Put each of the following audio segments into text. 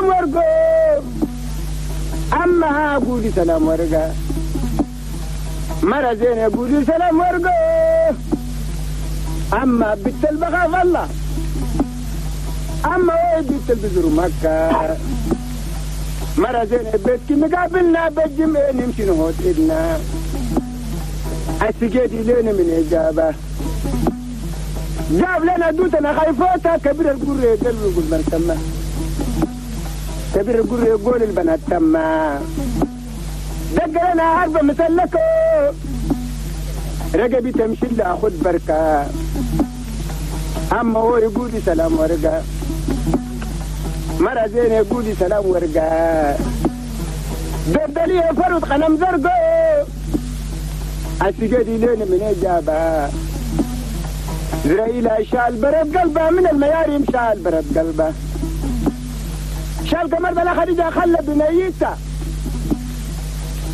ورقو أما قولي سلام ورقة مرة زينة قولي سلام ورقو أما بنت البخاف الله أما وين بنت البزر مكة مرة زينة بيتك مقابلنا بالجمع نمشي نهوت إدنا السجادي لنا من إجابة جاب لنا دوتنا خايفوتها كبير القرية يقول يقول من تما كبير القرية يقول البنات تما دق لنا عربة مسلكة رقبي تمشي لها خد بركة أما هو يقول سلام ورقة مرة زينة يقول سلام ورقة دردلية فرد قنم زرقو السجادي لنا من إجابة زرائيل شال برد قلبه من المياريم شال برد قلبه شال كمر بلا خديجة خلى بنيته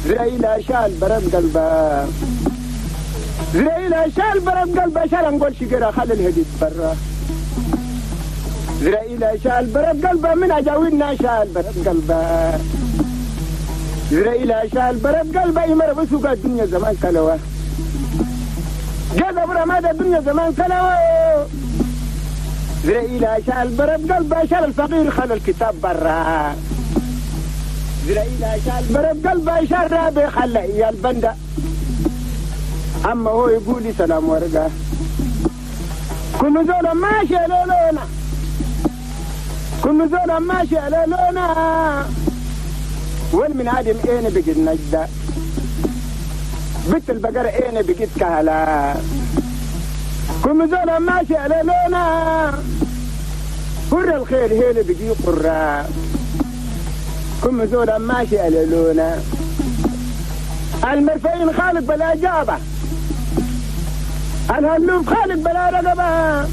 زرائيل شال برد قلبه زرائيل شال برد قلبه شال نقول شجرة خلى الهديد برا زرائيل شال برد قلبه من أجاوينا شال برد قلبه زرائيل شال برد قلبه يمر بسوق الدنيا زمان كلوه جذب رماد الدنيا زمان كلوه زرائيل شال برد قلبه شال الفقير خلى الكتاب برا زرائيل شال برد قلبه شال رابي خلى إيا البندة أما هو يقول لي سلام ورقة كل زولا ماشي على لونا كل زولا ماشي على لونا والمن عادم اين بقيت نجدة بنت البقرة اين بقيت كهلا كل زولا ماشي على لونا هر الخير هيل بقي قرة كل زولا ماشي على لونا المرفعين خالق بلا جابة الهلوف خالق بلا رقبة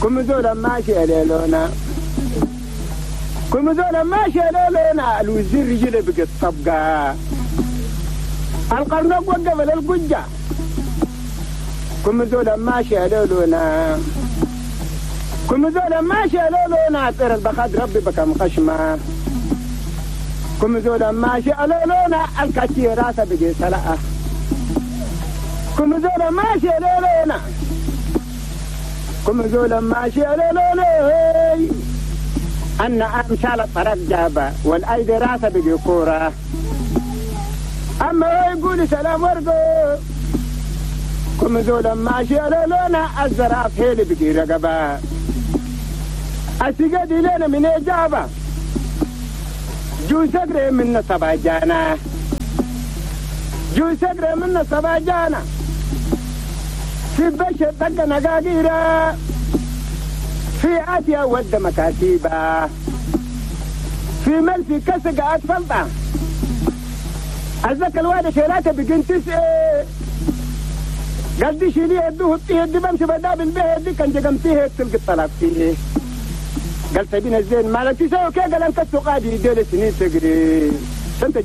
كل زولا ماشي على لونا كل زولا ماشي على لونا الوزير رجله بقت طبقة القرنوق وقف للقجة كل زولا ماشي على لونا كل زولا ماشي على لونا طير البخاد ربي بكم خشمة كل زولا ماشي على لونا الكاتي راسه بقي سلقة كل زولا ماشي على لونا كل زولا ماشي على لونا أن أمثال الطرق جابة والأيدي راسه بقي كورة أما هو يقول سلام ورقو كم زولا ماشي على لونا الزراف هيلي بقي رقبة السجادي لنا من إجابة جو سقري منا سباجانا جو سقري منا سباجانا في بشر طق نقاقيرة في آتيا ود مكاتيبة في ملفي كسق أطفلطة الزكا الوالي شيلاته بقين تسعة قال دي شيليه يدوه فيه دي بمشي بدا بالبيه دي كان جقمتيه تلقى الطلاق فيه قال سبينا الزين مالك تسوي كي قال انت السقادي ديل سنين تقري سنت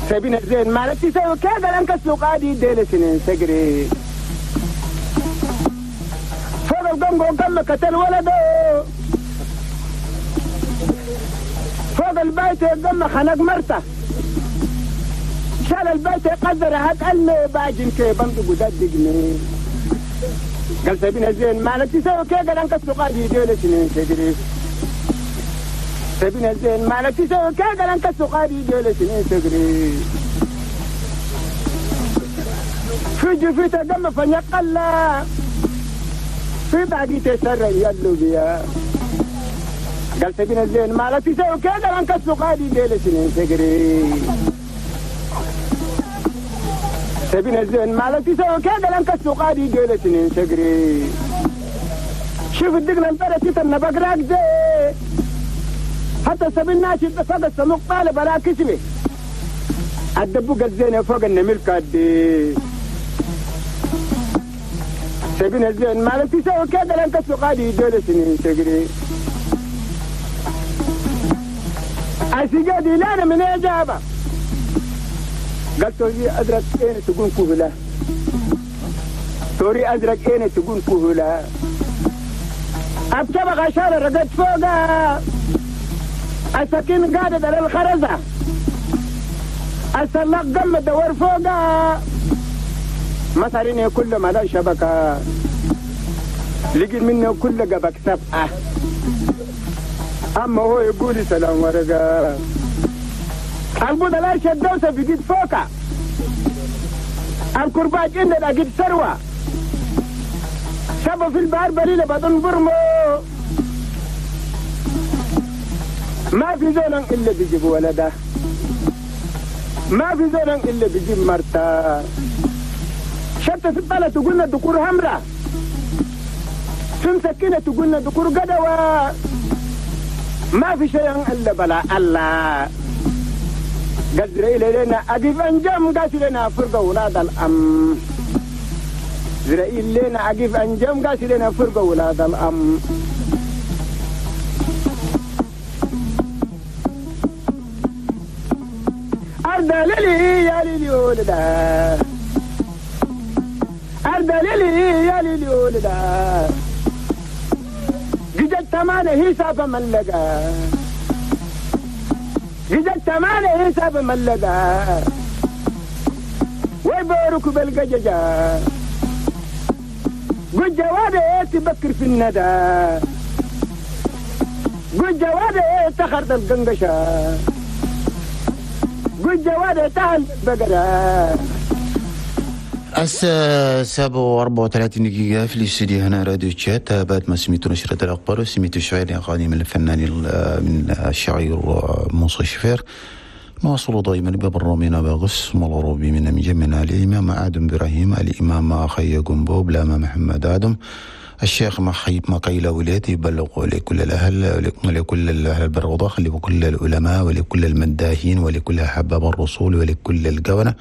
سبينا الزين مالك تسوي كي قال انت السقادي ديل سنين تقري فوق القنقو قال قتل ولده فوق البيت قام خنق مرته شال البيت قدر هات قال باجن كي بمدق وددقني قال سبينا زين مالك تسوي كي قال انك السقادي ديل سنين تجري سبينا زين مالك تسوي كي قال انك السقادي ديل سنين تجري في جفيته دم فنيقلا في باقي تسرى يلو بيا قال سبينا زين مالك تسوي كي قال انك السقادي ديل سنين تجري سبينا الزين مالك تسوي كذا لانك السقادي ديل سنين تجري شوف الدقن البلد تتنبق راكزة حتى سبيل ناشد فوق السموق طالب على كسبه الدبوق الزين فوق النمل كادي سبينا الزين مالك تسوي كذا لانك السقادي ديل سنين تجري السقادي لا من إجابة قال توري أزرق إين تقول كهلا توري أزرق إين تقول كهلا أبتبغ عشان رقد فوقها السكين قادت على الخرزة السلاق قم دور فوقها مصاريني كل ما لا شبكة لقيت منه كل قبك سبعة أما هو يقول سلام ورقة البوضة لا شدوسة بقيت فوقها الكرباج إن لقيت ثروة شبه في البحر بليلة بدون برمو ما في زول إلا بيجيب ولده ما في زول إلا بيجيب مرته شتى في الطلة تقولنا دكور همرة في مسكينة تقولنا دكور قدوة ما في شيء إلا بلا الله قدر إلينا أقف أنجم قاسي لنا فرقة ولاد الأم زرائيل لنا أقف أنجم قاسي لنا فرقة ولاد الأم أرض ليلي يا ليلي ولدا أرض ليلي يا ليلي ولدا جدت تمانة حساب ملقا جدت تمانة حساب ملقا ويبارك بالقججة قد جوابي تبكر في الندى قد جوابي تخرط القنقشة قد جوابي تهل بقرة. الساعة 7:34 دقيقة في الاستوديو هنا راديو تشات. بعد ما سميتوا نشرة الأخبار وسميتوا شعير أغاني من الفنان من الشاعر موسى شفير. نواصل دائما ببرنامجنا باغس ملروبي من مجمنا الإمام آدم إبراهيم، الإمام أخي جنبو، بلاما محمد آدم، الشيخ محيب مقيلة ولاتي يبلغ لكل الأهل ولكل الأهل البر ولكل العلماء ولكل المداهين ولكل أحباب الرسول ولكل الجونة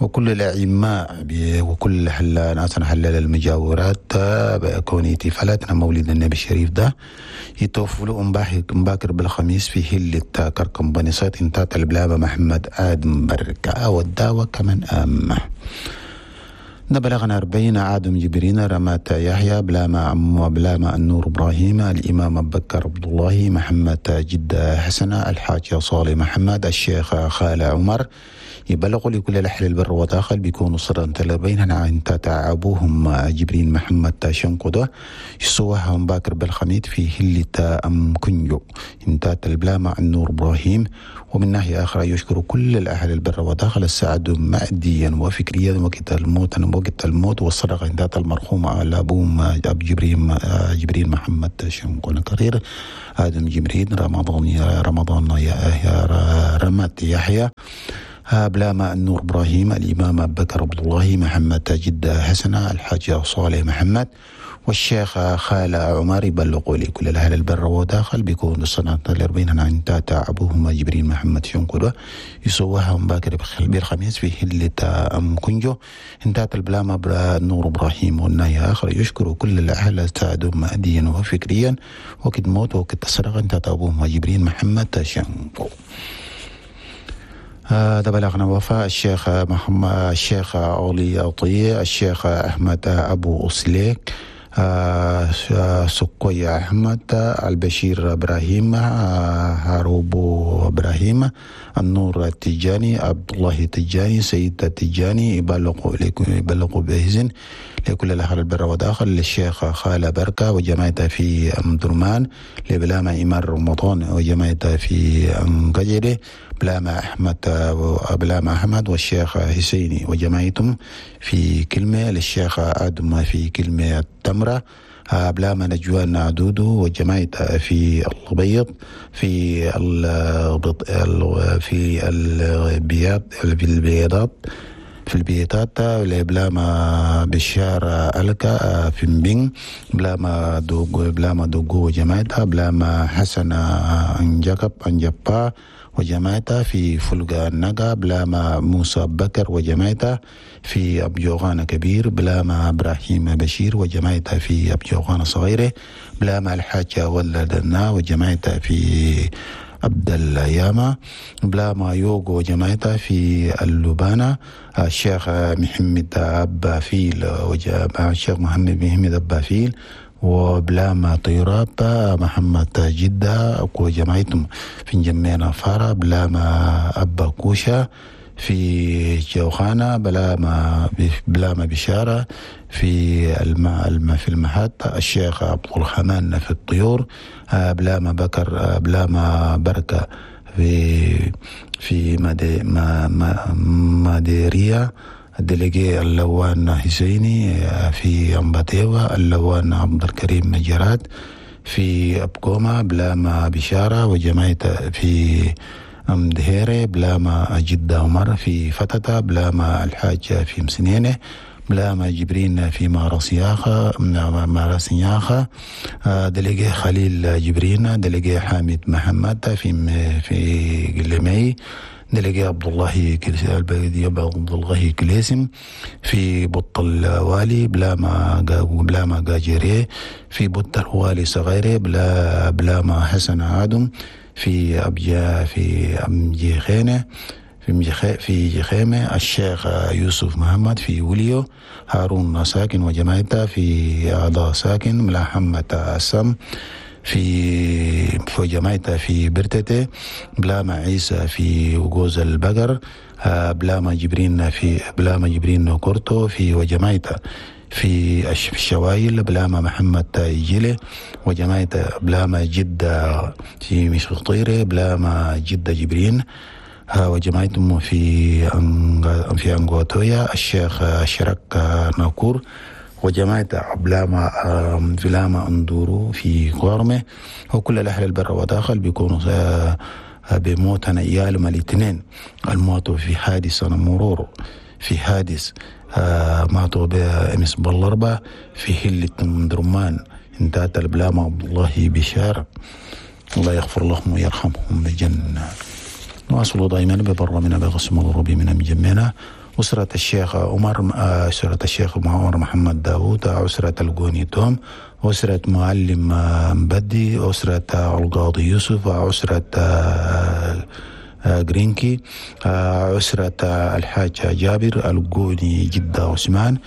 وكل الأعماء وكل ناس حلال المجاورات بكون احتفالاتنا مولد النبي الشريف ده يتوفلوا مباكر بالخميس في هلة كركم بنيسات انتات البلابة محمد آدم بركة والدعوة كمان أم نبلغنا 40 آدم جبرين رمات يحيى بلاما عم بلاما النور إبراهيم، الإمام أبو بكر عبد الله، محمد جدة حسنة، الحاج صالح محمد، الشيخ خالة عمر. يبلغوا لكل الأهل البر وداخل بيكونوا صرا تلبين عن تعبوهم جبرين محمد شنقدة يسوها باكر بالخميت في هلة أم كنجو انتات البلامة النور إبراهيم. ومن ناحية أخرى يشكر كل الأهل البر وداخل السعد ماديا وفكريا وقت الموت وقت الموت والصدقة انتات المرحوم على أبوهم أب جبرين محمد شنقدة كرير آدم جبرين رمضان يا رمات يحيى بلاما النور إبراهيم، الإمام أبو بكر عبد الله، محمد جدة حسنة، الحاج صالح محمد، والشيخ خالة عمر. يبلغوا لكل الأهل البر وداخل بيكون السنة 40 عن تاتا أبوهما جبرين محمد شنقدة يسوها باكر بالخميس في هلة أم كنجو انتات البلاما نور إبراهيم. والناية آخر يشكر كل الأهل ساعدوا ماديا وفكريا وقت موت وقت السرقة انتات أبوهما جبرين محمد شنقو. هذا بلغنا وفاء الشيخ محمد الشيخ أولي أطي، الشيخ أحمد أبو أسليك، سكوي أحمد، البشير إبراهيم، هاروبو إبراهيم، النور التجاني، عبد الله التجاني، سيد التجاني. يبلغوا بإذن لكل الأهل البر وداخل للشيخ خالة بركة وجماعته في أم درمان، لبلامة إمام رمضان وجماعته في أم قجري، بلامة أحمد والشيخ حسيني وجماعتهم في كلمة، للشيخ آدم في كلمة التمرة، بلامة نجوان دودو وجماعته في البيض في في البياض في البيضات في البيتات، بلاما بشار ألكا في مبين، بلاما دوغو وجماعتها، بلاما حسن أنجاب أنجبا وجماعتها في فلقا النقا، بلاما موسى بكر وجماعتها في أبجوغان كبير، بلاما إبراهيم بشير وجماعتها في أبجوغان صغيرة، بلاما الحاجة ولدنا وجماعتها في عبد الياما، بلاما يوغو وجماعتها في اللبانة، الشيخ محمد أبا فيل الشيخ محمد أبا فيل وبلاما طيراب محمد جدة وجماعتهم في جمينا فارا، بلاما أبا كوشا في جوخانة، بلاما بشارة في في المحطة، الشيخ عبد الرحمن في الطيور، بلاما بكر، بلاما بركة في ماديريا، الدليجي اللوان حسيني في أمباتيوا، اللوان عبد الكريم مجرات في أبكوما، بلاما بشارة وجماعة في أمدهيري، بلاما جدة عمر في فتتة، بلاما الحاج في مسنينة، بلاما جبرين في ماراسياخة، دليجي خليل جبرين، دليجي حامد محمد في قلمي، دليجي عبد الله كليسم في بط الوالي، بلاما قاجري في بط الوالي صغيري، بلاما حسن آدم في أبجا في أمجيخينة في جخيمة، الشيخ يوسف محمد في وليو، هارون ساكن وجماعته في أعضاء ساكن، ملاحمة السم في جماعته في برتته، بلاما عيسى في وجوز البقر، بلاما جبرين كورتو في وجماعته في الشوايل، بلاما محمد تايجيلي وجماعته، بلاما جدة في مشخطيري، بلاما جدة جبرين وجماعتهم في أنغواتويا، الشيخ شرك ناكور وجماعة بلاما أندورو في قارمة. وكل الأهل البر وداخل بيكونوا بموتنا إيالهم الاثنين الموتوا في حادث مرور، في حادث ماتوا بأمس بالأربعة في هلة درمان، انتهت البلاما عبد الله بشارة، الله يغفر لهم ويرحمهم بالجنة. نواصل دائما ببرنامجنا بقسم الغربي من مجمعنا. أسرة الشيخ عمر، أسرة الشيخ عمر محمد داوود، أسرة الجوني توم، أسرة معلم مبدي، أسرة القاضي يوسف، أسرة جرينكي، أسرة الحاج جابر الجوني جدة عثمان،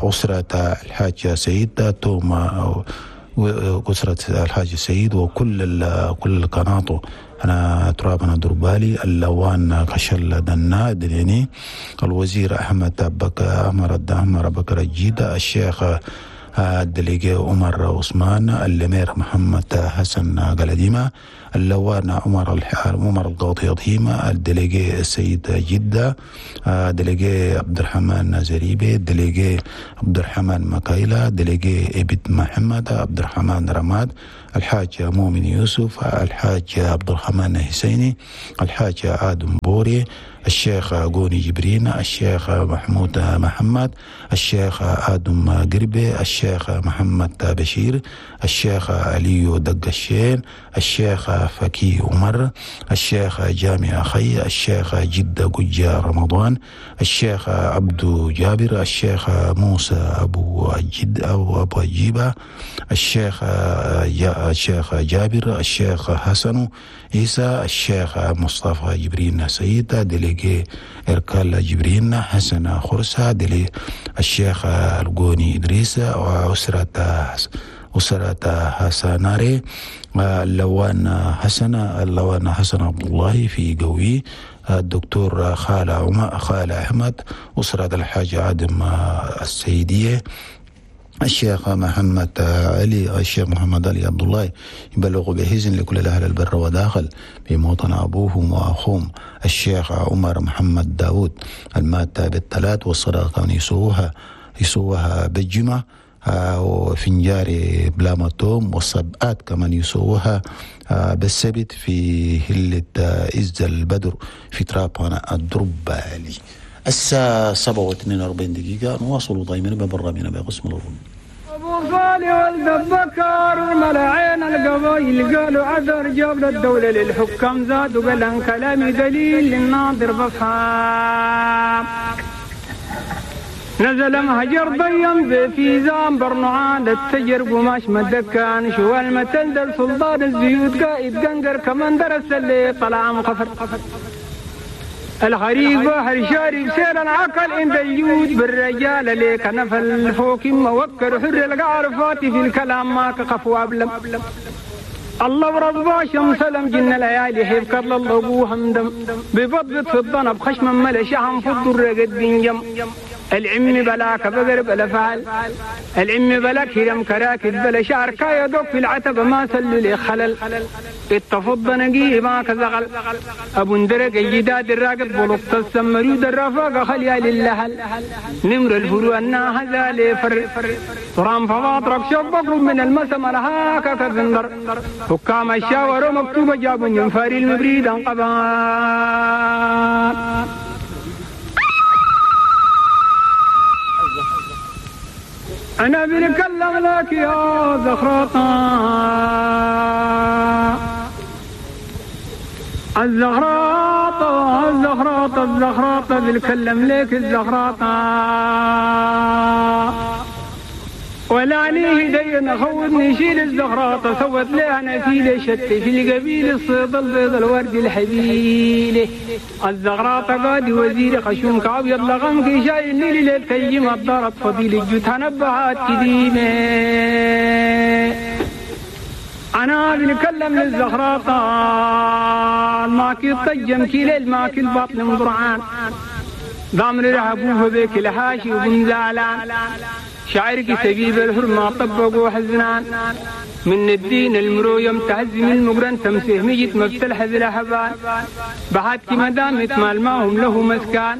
أسرة الحاج سيد توم، أسرة الحاج سيد، وكل كل قناته أنا ترابنا دربالي، اللوان كشل دنا دليني، الوزير أحمد بكر عمر بكر الجيدة، الشيخ الدليجي عمر عثمان، الأمير محمد حسن قلديمة، اللوان عمر القاضي هيما، الدليجي السيد جدة، دليجي عبد الرحمن زريبي، دليجي عبد الرحمن مكايلة، دليجي إبد محمد عبد الرحمن رماد، الحاج مؤمن يوسف، الحاج عبد الرحمن حسيني، الحاج آدم بوري، الشيخ غوني جبرين، الشيخ محمود محمد، الشيخ آدم قربي، الشيخ محمد بشير، الشيخ علي دقشين، الشيخ فكي عمر، الشيخ جامع خي، الشيخ جدة قجة رمضان، الشيخ عبد جابر، الشيخ موسى أبو جد أو أبو أجيبة، الشيخ جابر، الشيخ حسن عيسى، الشيخ مصطفى جبرين سيد، دليجي إركال جبرين، حسن خرسة، دلي الشيخ الجوني إدريس، وأسرة حسناري، اللوان حسن عبد الله في قوي، الدكتور خال أحمد، أسرة الحاج عادم السيدية، الشيخ محمد علي عبد الله، يبلغ بحزن لكل الأهل البر وداخل بموطن أبوهم وأخوهم الشيخ عمر محمد داود المات بالثلاث، والصدقة يسوها بالجمعة، وفنجاري بلاما توم، والسبعات كمان يسووها بالسبت في هلة إز البدر في ترابنا الدربالي. الساعة 7:42 نواصل دائما ببرنامجنا بقسم الأردن. أبو صالح ولد بكر ملعين القبايل قالوا عذر جاب للدولة للحكام زاد وقال عن كلامي دليل للناظر بفهم. نزل مهجر ضيم في زام برنعان التجر قماش مدكان شو المتندل سلطان الزيود قائد قنقر كمان درس اللي طلع مخفر. الخريف بحر شارب سير العقل عند الجود بالرجال ليك نفل فوق ما وكر حر القعر فاتي في الكلام ما كقف وابلم الله ورب شمس لم جن ليالي حيف كرل الله همدم ببضبط في الضنب خشم ملا شحم في الضر قد بنجم العم بلاك بقر بلا فعل العم بلا كرم كراكد بلا شعر كايا دوك في العتبة ما سلوا لي خلل اتفض نقيه ما كزغل ابو اندرق الجداد الراقد بلطة السمرود الرفاقة خليا للهل نمر الفروع الناهزة لفر ترام فواطرك شبك من المسم لهاك كذندر حكام الشاور مكتوبة جاب ينفاري المبريد انقبان. أنا بنكلم لك يا زخرطة الزخراطة الزخراطة الزخراطة بنكلم لك الزخراطة ولا عليه دين خوضني شيل الزخراطة سوت لها نفيلة شت في القبيل الصيد البيض الورد الحبيلة الزغراطة قادي وزير خشومك أبيض لغمك شايل ليل ليل الضرب فضيل الجوت نبهات كديمة. أنا بنكلم للزخراطة ماكي الطجم كي ليل ماكي البطن مضرعان ضامن رهبوه بيك الحاشي وبن زعلان شعرك سبيب الحرمة طبقوا حزنان من الدين المرو تهزم المقرن تمسيه ميت مبتلحز الأحبان بحاتك مدامت مال ماهم له مسكان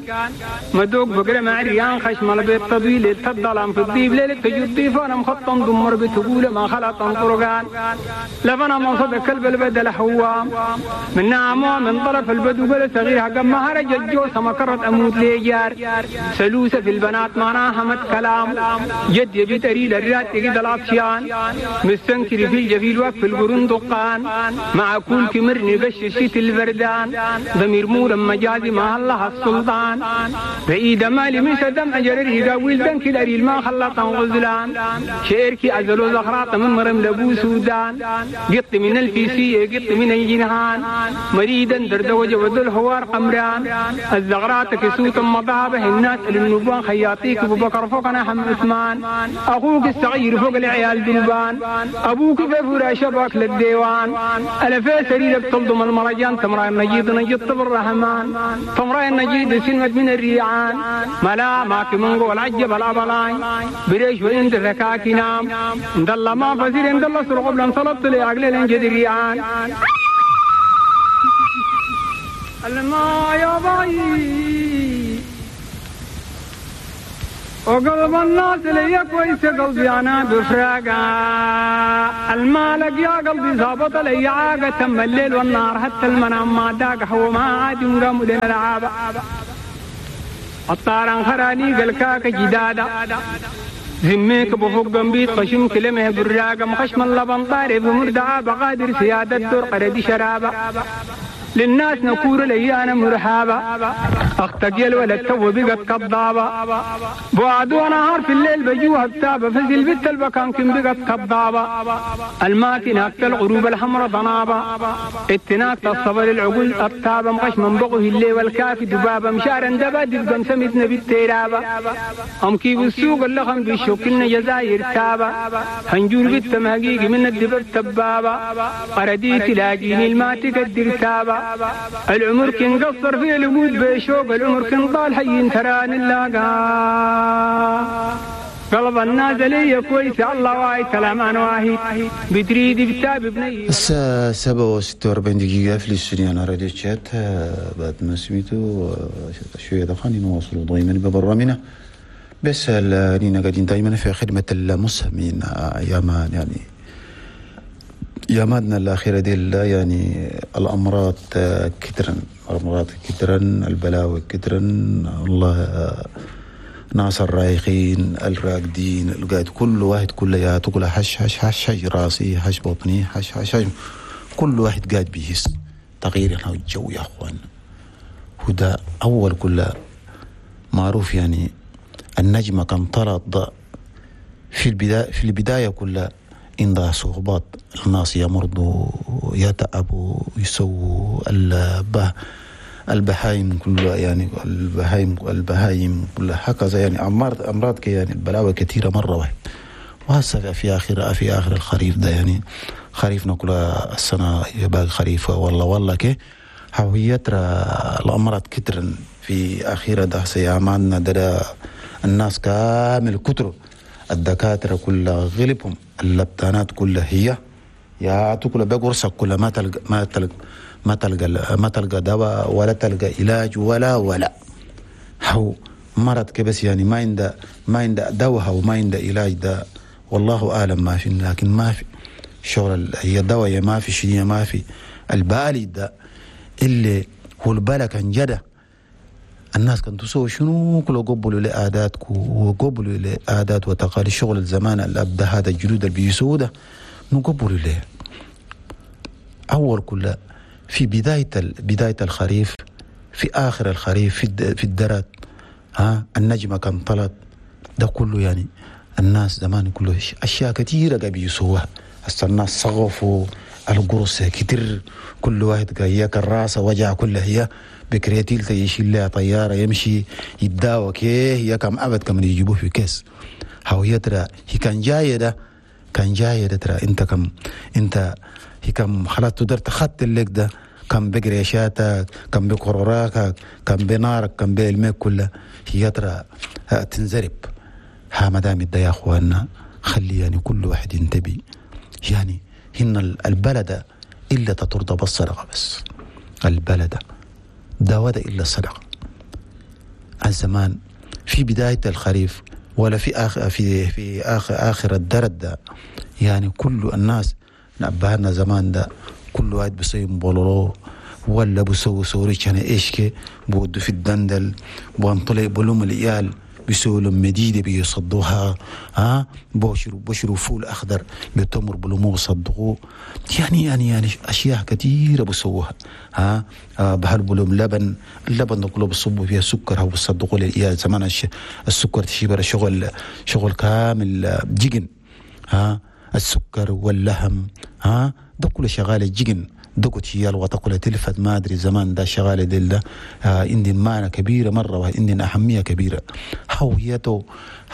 مدوق بقرة مع ريان خشم البيت تضويل التضلام في الضيب ليلة تجد ضيفانا مخطم دمر بتقول ما خلط طرقان لفنا من صدق كلب البدل حوام من نعمة من طرف البدو قل صغير حقا ما هرج الجوسة ما كرت أموت ليجار سلوسة في البنات معناها مت كلام جد يبي تريل الرات تجد العطشان مستنكر في الجفيل وقف القرون دقان مع كل كمرني قش الشيت البردان ضمير مورا مجازي مع الله السلطان بعيد مالي من سدم أجرره قاويل دنك الأريل ما خلطا غزلان شعرك أزلو زخراط من مرم لبو سودان قط من الفيسية قط من الجنهان مريدا دردوج وذو الهوار قمران الزغرات كسوت مضابه الناس للنبوان خياطيك أبو بكر فوقنا حم عثمان أخوك الصغير فوق العيال دلبان أبوك في فراش شباك للديوان ألا في سريرك تلضم المرجان تمرأ النجيد نجد بالرحمن تمرأ النجيد سلمت من الريعان ملا ماك من قول عجب الأبلاين بريش وإنت ذكاك نام اندل ما فزير اندل سرق بلن صلبت لعقل الانجد الريعان الما يا باي وقلب الناس لي كويس قلبي انا بفراقه المالك يا قلبي ظابط لي عاقه تم الليل والنهار حتى المنام ما داق هو ما عاد ينقام لنا العابه الطارن خراني قلكاك جداده ذميك بفوق جنبيت خشم كلمه براقه مخشم اللبن طارب مردعه بقادر سياده الدور قردي شرابه للناس نكور لي أنا مرحابة أختك يا الولد تو بقت كضابة بعد ونهار في الليل بجوها بتابة فزل بنت البكان كم بقت كضابة الماكنة الغروب الحمرا ضنابة اتناك الصبر العقول الطابة مغش من بغه الليل والكافي دبابة مشارا دبا دبقا سمتنا بالتيرابة أم كيف السوق اللخم بالشوكلنا جزاير تابة هنجور بنت مهقيق من الدبر تبابة قردي تلاقيني الماتك الدرتابة العمر كن قصر في الوجود بشوق العمر كن طال حي تران اللاقا قلب الناس لي كويس الله واي كلام انا واهي بتريد بتاب بني. الساعة 7:46 دقيقة في الاستوديو على راديو تشات. بعد ما سميتو شوية دقائق نواصلوا دائما ببرنامجنا، بس لينا قاعدين دائما في خدمة المسلمين ايام يعني ياماتنا الأخيرة دي يعني الأمراض كترا، الأمراض كترا، البلاوي كترا، والله ناس الرايقين الراقدين القاعد كل واحد كل تقول حش حش حش حش راسي حش بطني حش حش حش، كل واحد قاعد بيهس تغيير الجو يا أخوان. هذا أول كل معروف يعني النجمة كان طلعت في البداية كلها عندها صعوبات، الناس يمرضوا يتعبوا يسووا البهايم كلها، يعني البهايم كلها هكذا، يعني أمراض يعني البلاوي كثيرة مرة واحد. وهسه في آخر الخريف ده، يعني خريفنا كلها السنة باقي خريف والله كي هو ترى الأمراض كترا في آخر ده سياماننا ده الناس كامل كتر، الدكاترة كلها غلبهم، اللبتانات كلها هي يا تكل بقرصك كلها ما تلقى ما تلقى ما تلقى ما تلقى دواء ولا تلقى علاج ولا هو مرض كبس، يعني ما عنده دواء وما عنده علاج ده، والله أعلم ما في، لكن ما في شغل هي دواء ما في شيء ما في. البالي ده اللي هو البلا كان جدا الناس كانت تسوي شنو كله، قبلوا لعاداتكم وقبلوا لعادات وتقاليد شغل الزمان الأب ده، هذا الجدود اللي بيسووا ده نقبلوا له. أول كله في بداية الخريف، في آخر الخريف، في الدرات، ها النجمة كان طلعت ده كله، يعني الناس زمان كله أشياء كثيرة قاعد يسووها. هسه الناس صغفوا القرص كتير، كل واحد قايك الراس وجع كلها هي بكريتيل يشيل لها طيارة يمشي يتداوى كيه هي كم أبد كم يجيبوه في كيس. هو يترى هي كان جاية ده كان جاية ده ترى أنت كم أنت هي كم خلاص تقدر تخط لك ده كم بقريشاتك كم بقراراك كم بنارك كم بعلمك كلها هي ترى تنزرب. ها مدام ده يا أخواننا خلي يعني كل واحد ينتبه، يعني هن البلد إلا تترضى بالصدقة بس، البلد دواء إلا الصدقة. الزمان في بداية الخريف ولا في آخر في في آخر آخر الدرد ده، يعني كل الناس نبهنا زمان ده كل واحد بيسوي بولولو ولا بيسوي سوريش يعني إيش كي بودو في الدندل بنطلع بلوم العيال بيسووا لهم مديدة بيصدوها، ها بشروا فول أخضر بتمر بلومه بيصدقوه، يعني يعني يعني أشياء كثيرة بيسووها، ها بهربوا لهم لبن، اللبن ده كله بيصبوا فيها سكر أو بيصدقوا للعيال زمان السكر تشيبر شغل كامل جيجن، ها السكر واللحم، ها ده كله شغال جيجن دقت هي الوطا تلفت ما ادري زمان ده شغال ديل ده عندي معنى كبيرة مرة وعندي اهمية كبيرة. هويته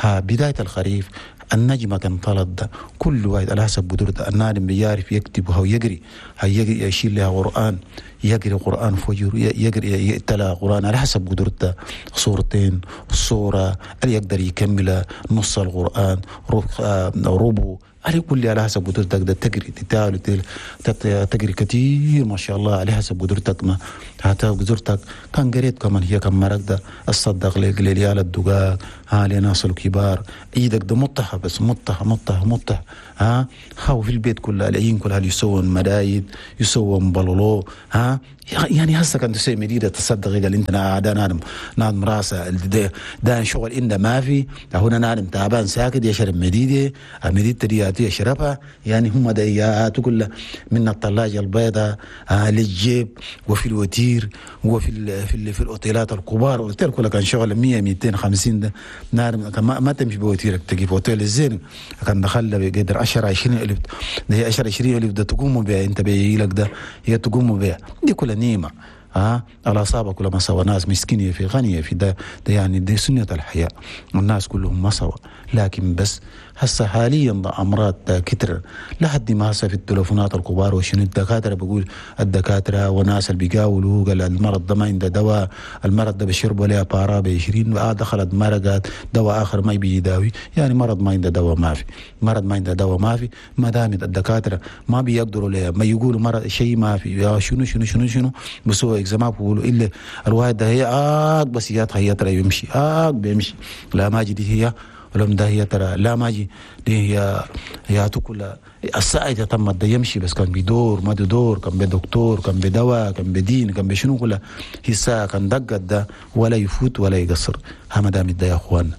ها بداية الخريف النجمة كان طلد كل واحد على حسب قدرته، النادم بيعرف يكتب وهو يقري، هيقري يشيل لها قران، يقري قران فجر، يقري يتلا قران على حسب قدرته، صورتين صوره اللي يقدر يكمل نص القران ربع على كل على حسب قدرتك ده تقري تتالي تقري كثير ما شاء الله على حسب قدرتك، ما حتى قدرتك كان قريت كمان هي كم مرق ده الصدق لليال الدقاق ها لناس الكبار ايدك ده مطحة بس مطحة مطحة مطحة ها هاو في البيت كلها العين كلها يسوون مدايد يسوون بلولو ها يعني هسه كان تسوي مديدة تصدق قال انت نادم نادم راسه ده شغل إنه ما في هنا نادم تعبان ساكت يشرب مديدة مديدة دي يشربها، يعني هم ديات كلها من الثلاجة البيضاء للجيب وفي الوتير وفي ال في ال في الاوتيلات الكبار، الاوتيل كلها كان شغل 100 250 ده نار ما تمشي بوتيرك تجيب اوتيل الزين كان دخل بقدر 10 20 الف ده هي 10 20 الف ده تقوم بها انت بيجيلك ده هي تقوم بها دي كلها نيمه ها الأصابة كلها ما سوا، ناس مسكينة في غنية في ده يعني دي سنة الحياة، الناس كلهم ما سوا. لكن بس هسه حاليا أمراض كتر لحد ما هسه في التلفونات الكبار وشنو الدكاترة بقول الدكاترة وناس اللي بيقاولوا قال المرض ده ما عنده دواء، المرض ده بيشربوا لها بارا ب 20 دخلت مرقات دواء آخر ما يبي يداوي، يعني مرض ما عنده دواء ما في، مرض ما عنده دواء ما في، ما دام الدكاترة ما بيقدروا لها ما يقولوا مرض شيء ما في يا شنو شنو شنو شنو بسووا إكزاما بيقولوا إلا الواحد ده هي بس هي ترى يمشي بيمشي لا ما جدي هي ولم ده هي ترى لا ما جي دي هي هي تكل الساعة تم ده يمشي بس كان بيدور ما دور كان بدكتور كان بدواء كان بدين كان بشنو كلها هي الساعة كان دقت ده ولا يفوت ولا يقصر. ها ما دام ده يا اخوان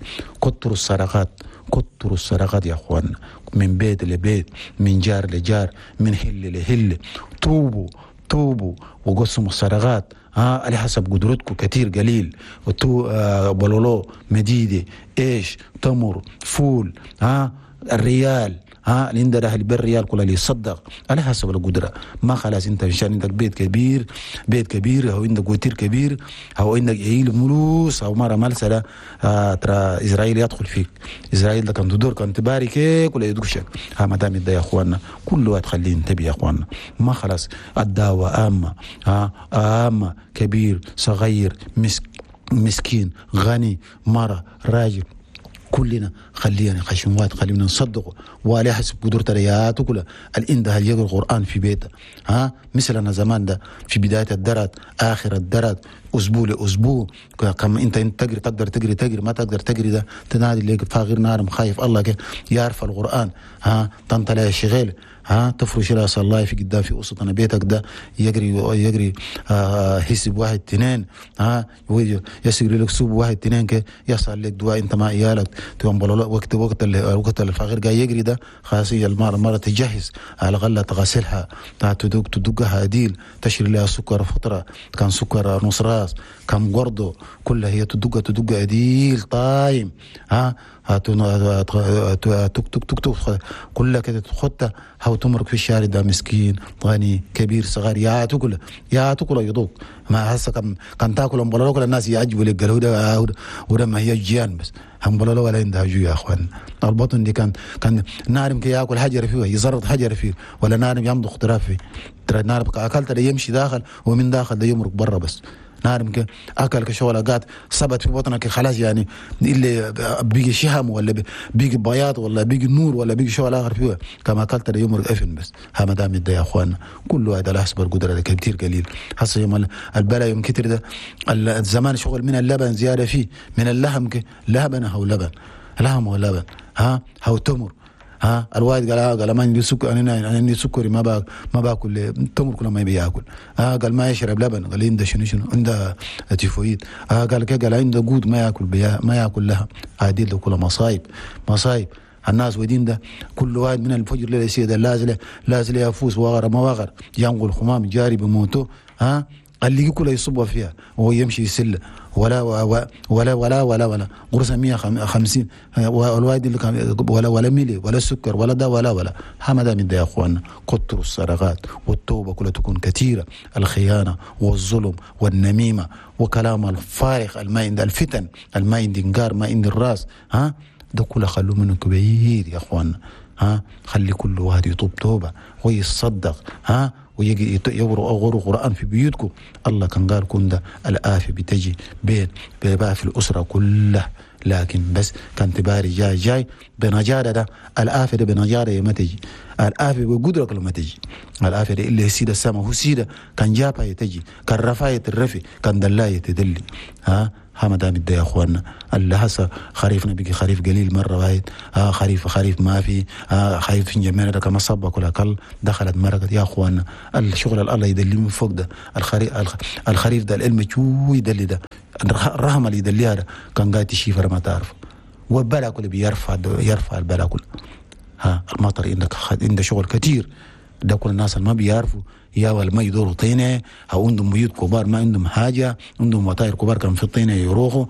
كتروا السرقات، كتروا السرقات يا اخوان، من بيت لبيت، من جار لجار، من هل لهل، توبوا توبوا وقسموا السرقات ها على حسب قدرتكم كثير قليل وتو بلولو مديدة ايش تمر فول ها الريال ها اللي عنده اهل بالريال كلها اللي يصدق على حسب القدرة. ما خلاص انت عشان عندك بيت كبير، بيت كبير او عندك وتير كبير او عندك عيل ملوس او مرة ملسله ترى اسرائيل يدخل فيك. اسرائيل ده كان تدور كان تبارك ولا يدقشك. ها ما دام يا اخواننا كل واحد خليه ينتبه يا اخواننا. ما خلاص الدعوة عامة، ها عامة، كبير صغير، مسكين غني، مرة راجل، كلنا خلينا خشموات، خلينا نصدقه وعلى حسب قدرتنا يا تقول الإن ده يقرأ القرآن في بيته. ها مثلنا زمان ده في بداية الدرات، آخر الدرات، أسبوع لأسبوع، كم أنت تجري تقدر تجري تجري، ما تقدر تجري ده تنادي اللي فاغر نار خايف الله كي يعرف القرآن. ها تنطلع الشغل، ها تفرش لها صلاة في قدام في وسطنا بيتك ده يجري حسب 1 2، ها يسجل لك سوب 1 2 كي يصل لك دعاء انت مع عيالك تقوم وقت وقت وقت الفقير جاي يجري ده خلاص المرة تجهز على الأقل تغسلها، تدقها عديل، تشري لها سكر فترة كان سكر نص راس كم قرضه كلها هي تدق عديل طايم. ها تك تك تك تك كلها كده تخطها هاو تمرق في الشارع ده مسكين غني كبير صغير يا تاكل يا تاكل يذوق ما هسه كان تاكل امبلولو كل الناس يعجبوا لك قالوا ده وده ما هي جيان بس امبلولو ولا عندها جو يا اخوان. البطن دي كان نارم كي ياكل حجر فيه يزرط حجر فيه ولا نارم يمضغ تراب فيه، ترى نارم اكلت ده يمشي داخل ومن داخل ده يمرق برا بس. نارم كي اكل كشغله قات ثبت في بطنك خلاص، يعني اللي بيجي شهم ولا بيجي بياض ولا بيجي نور ولا بيجي شغل اخر فيه كما اكلت ده يمرق افن بس. ها ما دام يا اخوان كل واحد على حسب القدرة ده كتير قليل. هسه يوم البلا يوم كتر ده الزمان شغل من اللبن زيادة فيه من اللحم لبن او لبن لحم ولبن ها او تمر. ها الواحد قال ما عندي سكر، انا عندي سكري ما باكل تمر كل ما بياكل. ها قال ما يشرب لبن، قال عنده شنو عنده تيفويد. ها قال كده قال عنده جود ما ياكل ما ياكل لها. هذه كلها مصايب مصايب الناس ودين ده كل واحد من الفجر للسيد لازل يفوز وغر ما وغر ينقل خمام جاري بموته. ها اللي كله يصب فيها وهو يمشي يسل ولا ولا ولا ولا ولا قرصة 150 والوالد اللي ولا ولا ميلي ولا سكر ولا ده ولا ولا. ما من ده يا اخواننا كتروا السرقات والتوبة كلها تكون كثيرة، الخيانة والظلم والنميمة وكلام الفارغ الما عند الفتن الما عند انقار ما عند الراس. ها ده كله خلوه منه كبير يا اخواننا. ها خلي كل واحد يطوب توبة ويصدق. ها ويجي يقرأ قرآن في بيوتكم. الله كان قال كن ده الآفة بتجي بين بقى في الأسرة كلها، لكن بس كان تباري جاي جاي بنجارة ده الآفة ده بنجارة ما تجي، الآفة بقدرك لما تجي، الآفة ده اللي سيدة السما هو سيدة كان جابها يتجي، كان رفاية الرفي، كان دلاية تدلي. ها ما دام يا اخواننا اللي هسه خريفنا بيجي خريف قليل مرة واحد، ها خريف ما في، ها خريف في جميع ده كما صبك ولا كل دخلت مرقت يا اخواننا. الشغل الله يدلي من فوق ده الخريف ده العلم شو يدلي ده الرحمة اللي يدليها ده كان قاعد تشيفر ما تعرف والبلا كله بيرفع يرفع البلا كله. ها المطر عندك شغل كثير ده كل الناس اللي ما بيعرفوا يا ولا ما يدوروا طينه او عندهم بيوت كبار ما عندهم حاجة، عندهم وطاير كبار كان في الطينه يروحوا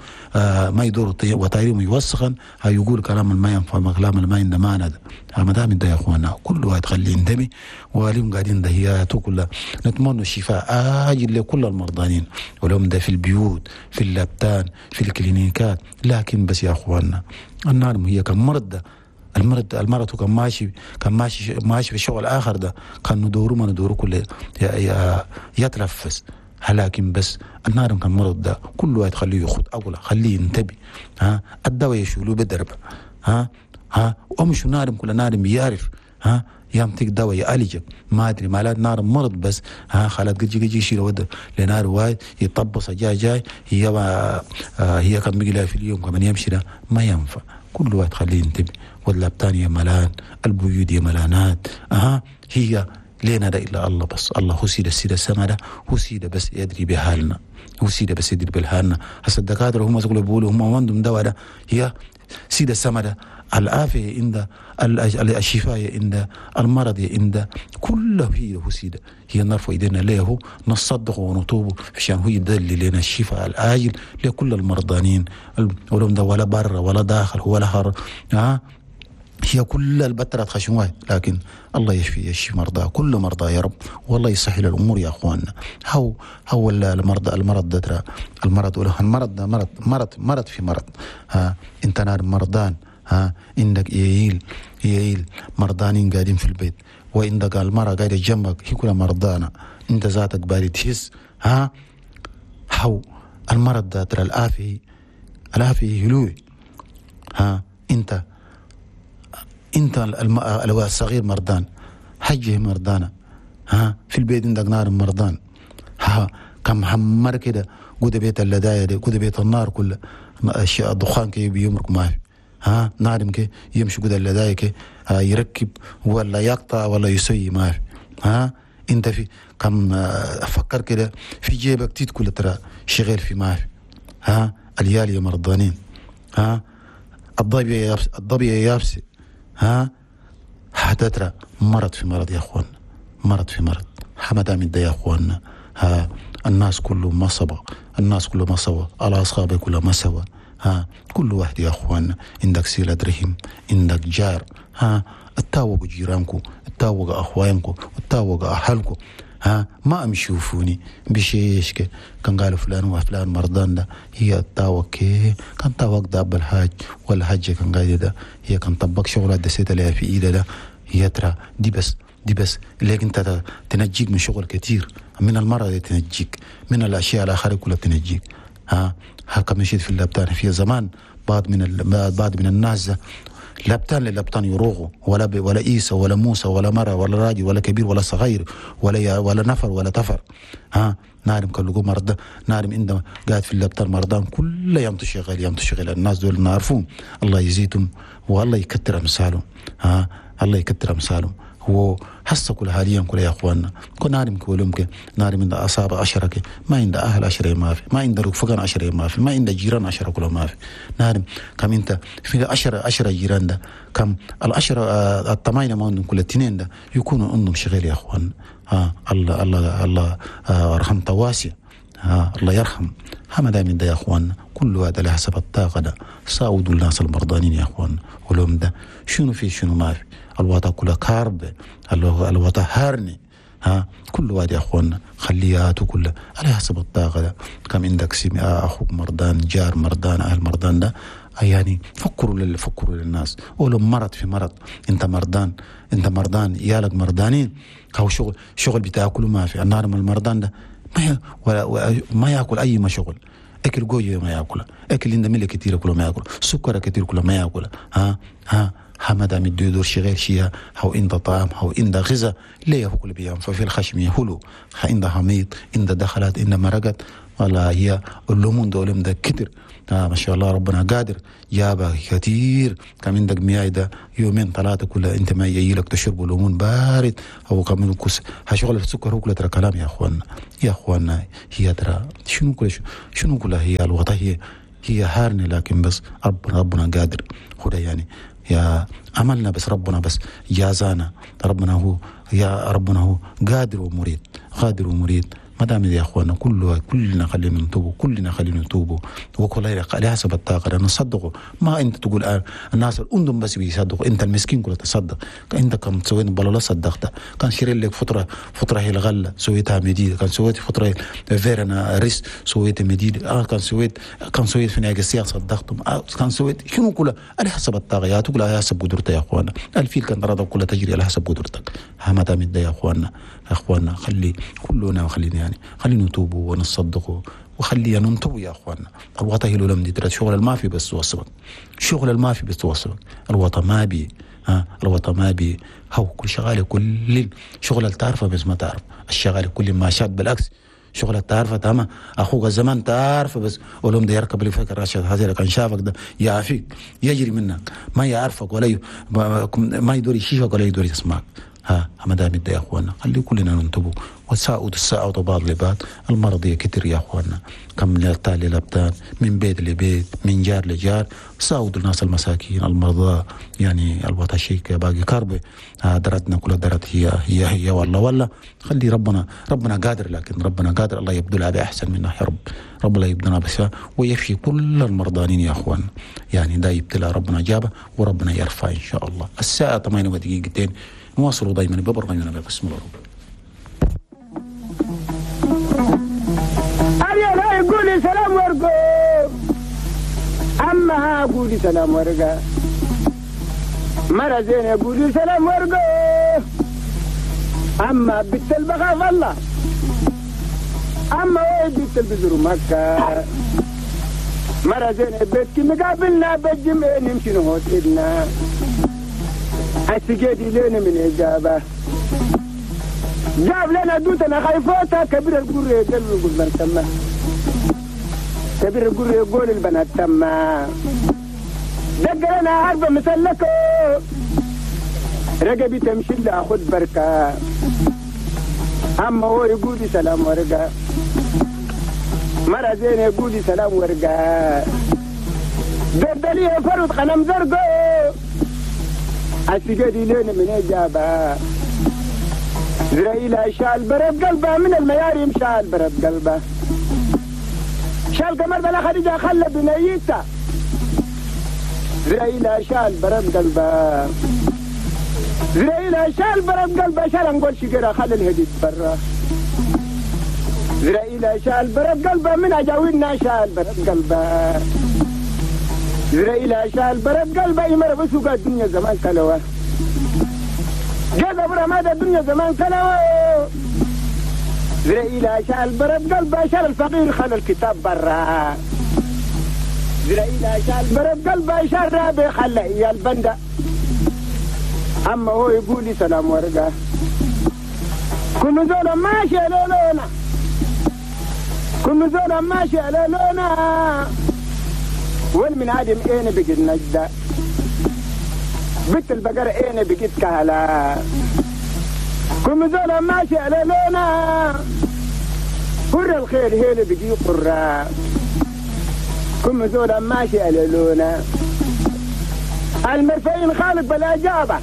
ما يدوروا وطايرهم يوسخن. يقول كلام ما ينفع كلام ما عنده معنى ده. ما دام ده يا اخوانا كل واحد خليه ينتبه واليوم قاعدين دهيات كلها. نتمنى الشفاء عاجل لكل المرضانين ولهم ده في البيوت في اللبتان في الكلينيكات. لكن بس يا اخوانا النار هي كمرض ده المرض كان ماشي ماشي في الشغل الاخر ده كان ندوره ما ندوره كله يتنفس. لكن بس النار كان مرض ده كل واحد خليه ياخذ اولى خليه ينتبه. ها الدواء يشيلوه بالدرب. ها ها وامشوا نارم كل نارم يعرف. ها يمتك دواء يعالجك ما ادري مالات نار مرض بس. ها خالات جي يشيل ود لنار وايد يطبص جاي جاي هي هي كم بيجي في اليوم كمان يمشي ده ما ينفع. كل واحد خليه ينتبه. واللبتان يا ملان البيوت يا ملانات. هي لينا ده إلا الله بس. الله هو سيدة السيدة السما ده هو سيدة بس يدري بحالنا، هو سيدة بس يدري بحالنا. هسه الدكاترة هم يقولوا بيقولوا هم عندهم دواء ده هي سيدة السما ده العافية عند الشفاء عند المرض عند كله هي هو سيدة. هي نرفع ايدينا له نصدق ونطوب عشان هو يدلل لنا الشفاء العاجل لكل المرضانين ولهم ده ولا بر ولا داخل ولا هر. هي كل البترات خشم، لكن الله يشفي، يشفي مرضى، كل مرضى يا رب، والله يسهل الامور يا اخواننا. هو المرضى، المرض ده ترى المرض، ولا المرض ده مرض مرض مرض في مرض. ها انت نار مرضان، ها عندك يعيل مرضانين قاعدين في البيت، وعندك المرأة قاعدة جنبك هي كلها مرضانة، انت ذاتك بارد تحس. ها هو المرض ده ترى الآفة، الآفة هلوي. ها انت الصغير مرضان، حجه مرضانة، ها في البيت عندك نار مرضان، ها كم حمر كده قد بيت اللداية دي، قد بيت النار كله الدخان كي بيمرق ما في، ها نارم كي يمشي قد اللداية كي يركب ولا يقطع ولا يسوي ما في. ها انت في كم فكر كده في جيبك تيت كل ترى شغال في ما في. ها اليالي مرضانين، ها الضبية الضبية يابسة، ها حتترى مرض في مرض يا اخوان، مرض في مرض. حمد من ده يا اخواننا. ها الناس كله ما سوا، الناس كله ما سوا، الاصحاب كله ما سوا. ها كل واحد يا اخوان عندك صلة رحم، عندك جار، ها اتاوقوا جيرانكم، اتاوقوا اخوانكم، اتاوقوا اهلكم. ها ما امشوفوني بشيش كان قالوا فلان وفلان مرضان ده، هي التاوك كان تاوك ده أب الحاج ولا حاجة كان قاعد ده، هي كان طبق شغلة دسيت لها في ايده ده، هي ترى دي بس، دي بس لكن انت تنجيك من شغل كتير، من المرض تنجيك، من الاشياء الاخرى كلها تنجيك. ها هكا مشيت في اللبتان في زمان بعض من الناس لبتان للبتان يروغوا، ولا عيسى ولا موسى ولا مرة ولا راجل ولا كبير ولا صغير ولا نفر ولا تفر. ها نارم كلكم مرضى، نارم عندما قاعد في اللبتان مرضان كل يوم تشغل، يوم تشغل الناس دول نعرفهم، الله يزيدهم والله يكتر امثالهم. ها الله يكتر امثالهم. هو حس كل حاليا كل يا اخواننا كنا نارم كلهم نارم عند اصابع 10 ما عند اهل 10 ما في، ما عند رفقان 10 ما في، ما عند جيران 10 كلهم ما في. نارم كم انت في 10 جيران ده، كم العشرة الثمانية ما عندهم كل اثنين ده يكونوا عندهم شغل يا اخوان. ها الله الله الله رحمته واسع، ها الله يرحم. ما دام ده يا اخوان كل هذا على حسب الطاقة ده ساعدوا الناس المرضانين يا اخوان. ولهم ده شنو في شنو ما في، الوطا كلها كارب، الوطا هارني. ها كل واحد يا اخوان خلياته كلها على حسب الطاقة ده. كم عندك اخوك مرضان، جار مرضان، اهل مرضان ده، يعني فكروا فكروا للناس. ولو مرض في مرض، انت مرضان، انت مرضان، عيالك مرضانين، هو شغل بتاكله ما في. النار من المرضان ده ما ما ياكل اي ما شغل، اكل جوجي ما ياكل، اكل عنده ملح كثير كله ما ياكل، سكر كثير كله ما ياكل. ها ها حمد عم يدور شغال شيء، هو عند طعام، هو عند غذاء، ليه هو كل بيام ففي الخشم يهلو، عند حميد، عند دخلات، عند مرقت، والله هي اللومون دولم ده كتر. ما شاء الله ربنا قادر جابها كثير. كم عندك مياه ده يومين ثلاثة كلها انت ما يجي لك تشرب ليمون بارد او كم كوس هشغل السكر هو كله ترى كلام يا اخواننا، يا اخواننا هي ترى شنو كل شنو كلها هي الوطا هي هارنة، لكن بس ربنا قادر هو يعني يا عملنا بس ربنا بس جازانا، ربنا هو يا ربنا هو قادر ومريد، قادر ومريد. ما دام يا اخوانا كلنا خلينا نتوبوا، كلنا خلينا نتوبوا، وكل على حسب الطاقة نصدقوا. ما انت تقول الناس الأندم بس بيصدقوا، انت المسكين كله تصدق. انت كم سويت بلا صدقت، كان شري لك فترة هي الغلة سويتها مديد، كان سويت فترة فيرنا ريس سويت مديد، كان سويت في نهاية السياق صدقتم، كان سويت شنو كله على حسب الطاقة يا تقول على حسب قدرتك يا اخوانا. الفيل كان ترى كلها تجري على حسب قدرتك. ما دام يا اخوانا، يا اخوانا خلي كلنا خلينا يعني خلينا نتوبوا ونصدقوا وخلينا ننتبه يا اخواننا. الوطا هي لم ترى شغل ما في بس توصلك، شغل ما في بس توصلك. الوطا ما بي، ها الوطا ما بي، هو كل شغالة كل شغل تعرفه بس ما تعرف الشغاله كل ما شاد، بالعكس شغل تعرفه تمام اخوك زمان تعرفه بس ولهم ده يركب اللي فكر راشد هذا كان شافك ده يعافيك يجري منك ما يعرفك ولا ما يدور يشيفك ولا يدور يسمعك. ها مدام يا اخوانا خلي كلنا ننتبه وساعدوا الساعة بعض لبعض. المرض كتير يا اخوانا، كم لتالي لبدان، من بيت لبيت، من جار لجار. ساعدوا الناس المساكين المرضى، يعني الوطشيك باقي كربه درتنا كلها درت هي هي هي والله والله. خلي ربنا قادر، لكن ربنا قادر الله يبدلها بأحسن منها يا رب. ربنا يبدلنا بس ويشفي كل المرضانين يا اخوان. يعني ده يبتلى ربنا جابه وربنا يرفع ان شاء الله. الساعة 8:02 نواصلوا دائما ببرنامجنا بقسم العروب. أريا قولي سلام ورقو، أما قولي سلام ورقة، مرة زين قولي سلام ورقو، أما بنت البخاف الله، أما وين بنت البزر مكة، مرة زين بيتك مقابلنا بالجمع نمشي نهوت إدنا السجادي لنا من إجابة جاب لنا دوتنا خايفوتا كبير القر يقول من تما كبير القر يقول البنات تما دق لنا عربة مسلكة رقبي تمشي لأخذ بركة. أما هو يقول سلام ورقة، مرة زين يقول سلام ورقة، دردلية فرد قلم زرقو السجادي لنا من إجابة زرائيل شال برد قلبه من المياريم شال برد قلبه شال قمر بلا خديجة خلى بنيته زرائيل شال برد قلبه زرائيل شال برد قلبه شال نقول شجرة خلى الهديد برا زرائيل شال برد قلبه من أجاوينا شال برد قلبه زرائيل شال برد قلبه يمر بسوق الدنيا زمان كلوه جذب رماد الدنيا زمان كلوه زرائيل شال برد قلبه شال الفقير خلى الكتاب برا زرائيل شال برد قلبه شال رابي خلى إياه البندة. أما هو يقول لي سلام ورقة كل زول ماشي على لونا كل زول ماشي على لونا والمن عادم اين بقيت نجدة بنت البقرة اين بقيت كهلا كل زول ماشي على لونا قر الخير هيل بقي قرة كل زول ماشي على لونا المرفين خالق بلا جابة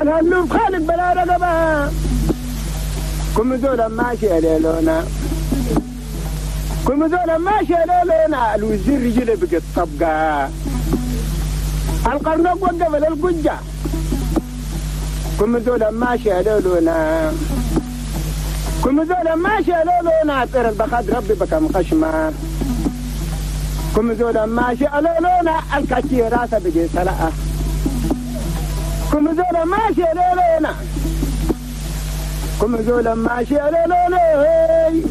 الهلوب خالق بلا رقبة كل زول ماشي على لونا كل زول ماشي على لونا الوزير رجله بقت طبقة القرنق وقف للقجة كل زول ماشي على لونا كل زول ماشي على لونا طير البخاد ربي بكم خشمة كل زول ماشي على لونا الكاتي راسه بقي سلقة كل زول ماشي على لونا كل زول ماشي على لونا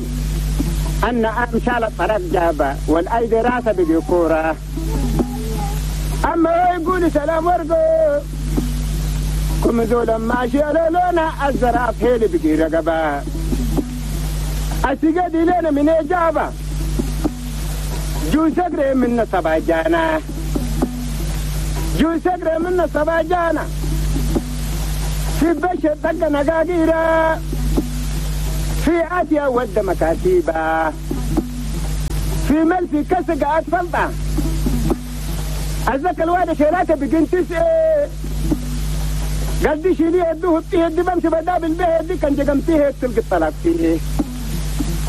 أن أمشال الطرف جابة والأيدي راسه بقي كورة. أما هو يقول سلام ورقو كم زول ماشي على لونا الزراف هيلي بقي رقبة السجاد لنا من إجابة جو سقري من سبع جانا جو سقري من سبع جانا في بشر طق نقاقيرة في آسيا ود مكاتيبة في ملفي كسق أطفلطة أزك الواد شيلاته بقين تسعة قال دي شيليه يدوه فيه دي بمشي بداب البيه دي كان جقمتيه تلقي الطلاق فيه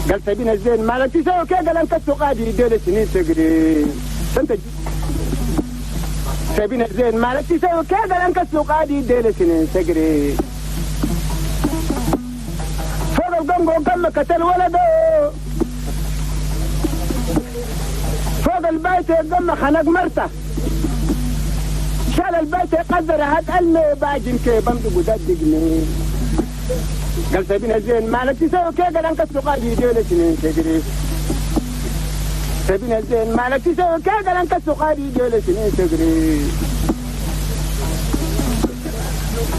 قال سبينا الزين مالك تساوي كي قال انك قادي ديل سنين تقري انت سبينا الزين مالك تساوي كي قال انك قادي ديل سنين تقري فوق القنقو كم قتل ولده فوق البيت قم خنق مرته شال البيت قدر هات قال باجن كي بمدق وددقني قال سبينا الزين مالك تساوي كي قال انك قادي ديل سنين تقري سبينا الزين مالك تساوي كي قال انك قادي ديل سنين تقري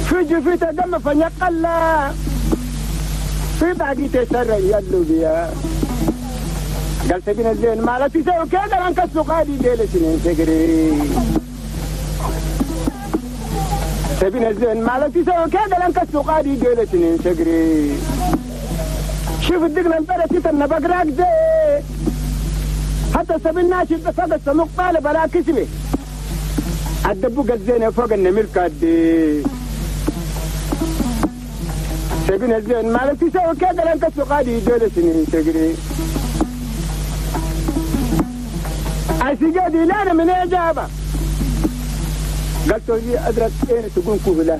في جفيته دم فنقلا في باقي تسرى يلو بيا قال سبينا الزين مالك تساوي كي قال انك قادي ديل سنين تقري. سبين الزين مالك تسوي كذا لانك السقادي دولة سنين شقري. شوف الدقن البلد تتنى بقراك زي حتى سبين ناشد فوق السموق طالب على كسبه الدبوق الزينة فوق النميل كادي. سبين الزين مالك تسوي كذا لانك السقادي دولة سنين شقري. السجادي لا من إجابة قال توري أزرق أين تكون كهلة،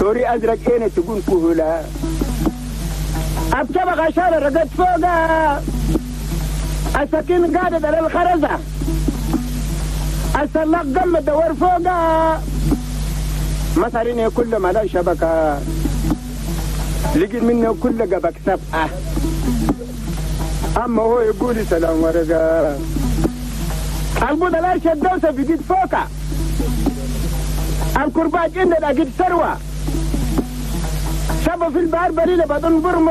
توري أزرق أين تكون كهلة. أبكى غشالة رقد فوقها السكين قادة على الخرزة السلاق قم دور فوقها مصاريني كل ما لا شبكة لقيت منه كل قبك سبعة. أما هو يقول سلام ورقة البودلار شدوسة في جيد فوقا الكرباج إن أجد ثروة شبه في البحر بريلة بدون برمو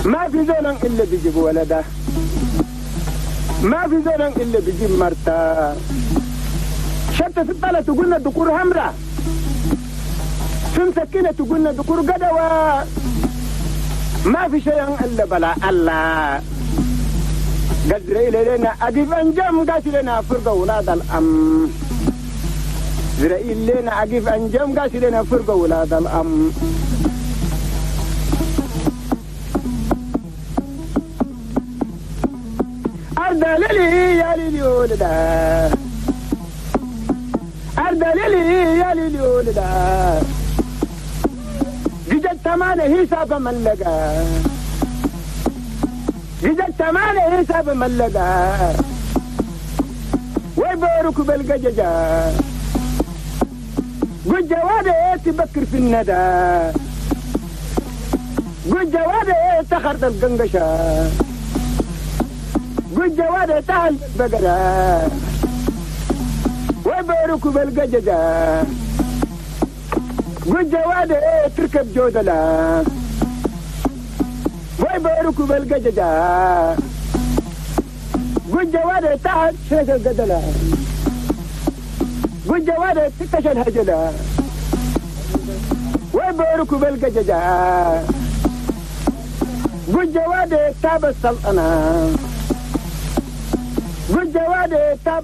ما في زول إلا بيجيب ولده، ما في زول إلا بيجيب مرته. شتى في الطلة تقولنا دكور همرة، في مسكينة تقولنا دكور قدوة. ما في شيء إلا بلا الله. قال لنا أقف أنجم قاسي لنا فرقة ولاد الأم. زرائيل لنا أقف أنجم قاسي لنا فرقة ولاد الأم. أرض ليلي يا ليلي ولدا، أرض ليلي يا ليلي ولدا. جدت تمانة حساب ملقا، جدت تمانة حساب ملقا. ويبارك بالقججة قجوادة تبكر في الندى، قجوادة تخرط القنقشة، قجوادة تهل البقرة. ويبارك بالقججة قجوادة تركب جودلة. ويبارك بالقججة قجوادة تحت شرش القدلة، قجوادة تكش الهجلة. ويبارك بالقججة قجوادة تاب السلطنة، قجوادة تاب